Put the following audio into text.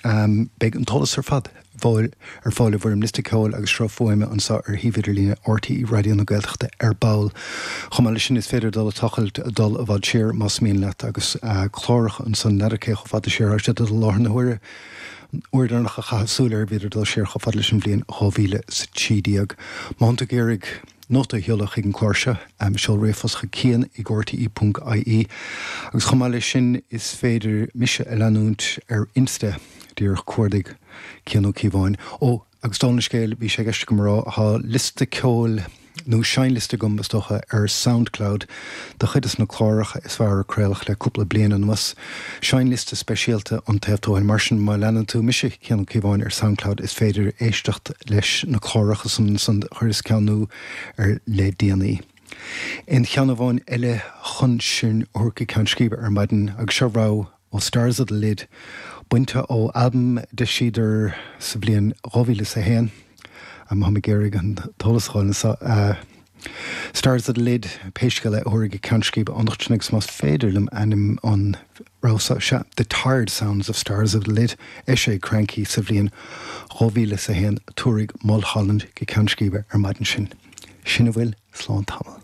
Beidh an t-eolas ar fad ar fáil i bhfoirm liosta ceoil agus sruth fuaime anseo ar shuíomh idirlíne RTÉ Raidió na Gaeltachta ar ball. Chomh maith leis sin is féidir dul ag tochailt, dul i bhfad siar más mian leat agus cláracha ansan, n'fheadar cé chomh fada siar atá siad i láthair na huaire. An uair dheireanach a chaitheas súil air bhíodar ag dul siar chomh fada leis an bhliain 2013. Má thánn tú ag iarraidh nóta a sheoladh chuig an chlár seo, seol ríomhphost chuig cian ag rte ponc ie agus chomh maith leis sin is féidir mise a leanúint ar Insta, díreach cuardaigh Cian Ó Cíobháin. Ó, agus dála an scéil, bhí sé i gceist agam a rá, tá liosta ceoil, nó seinnliosta agam is dócha, ar Soundcloud de chuid des na cláracha is fearr a craoladh le cúpla bliain anuas. Seinnliosta speisialta An Taobh Tuathail. Mar sin, má leanann tú mise, Cian Ó Cíobháin, ar Soundcloud, is féidir éisteacht leis na cláracha san ansan a chuireas ceann nua air le déanaí. Aon cheann amháin eile chun sinn a thabhairt go ceann scríbe ar maidin, agus seo rogha ó Stars of the Lid, bainte ó albam a d'eisíodar sa bhliain 2001. Táim ag iarraidh an t-eolas a fháil anseo. Stars of the Lid, pé scéal é, a thabharfaidh go ceann scríbe anocht sinn agus más féidir liom ainm an rogha seo, sea, The Tired Sounds of Stars of the Lid, eisithe ag Kranky sa bhliain 2001, tabharfaidh Mulholland go ceann scríbe ar maidin sinn. Sin a bhfuil, slán tamall.